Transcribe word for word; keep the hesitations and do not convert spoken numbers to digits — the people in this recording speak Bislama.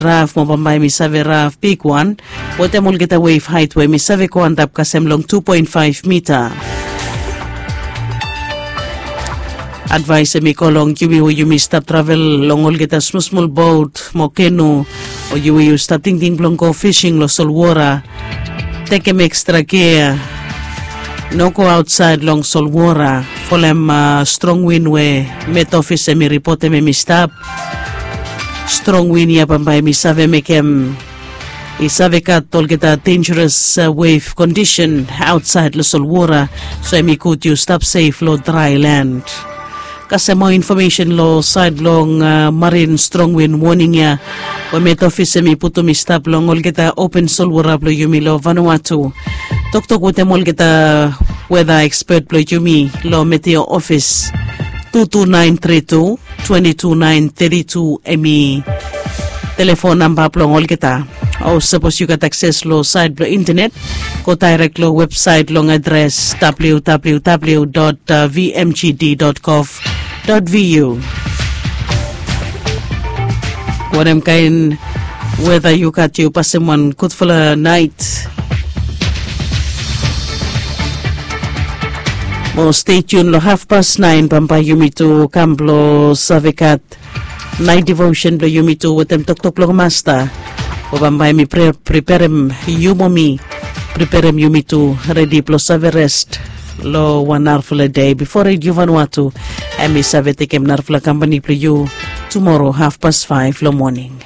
raf mo bambae mi save raf bigwan, wetem olgeta wef haet we mi save go antap kasem long tu poen faef mita. Advaes em i go long yumi we yumi stap travel long olgeta smulsmul bot mo kenu, o yu we yu stap tingting blong go fising long solwora, tekem ekstra gia. No go aotsaed long solwora folem strong win we met ofis em i ripotem em i stap. Strong win ya bambae mi save mekem i save gat olgeta denjeros wef kondisen aotsaed long solwora. So em i gud yu stap sef long drae len. Kasem moa infomesen long saed blong marin strong win woning ya we met ofis em i putum i stap long olgeta open solwora blong yumi long Vanuatu. Toktok wetem olgeta weda ekspet blong yumi long meteo ofis. Tu tu naen tri tu twenti tu naen teti tu em i telefon namba blong olgeta. O sapos yu gat akses long saed blong intenet, go daerek long websaet long adres www vmgd gov vu. Wanem kaen weda yu gat yu pasem wan gudfala naet. Mo stetiun long hafpas naen bambae yumi tu kam blong save gat naet devosen blong yumi tu wetem toktok blong masta. Mo bambae mi priperem yu mo mi priperem yumi tu redi blong save res long wan narafala dei bipo redio Vanuatu em i save tekem narafala kampani blong yu tumora hafpas faef long moning.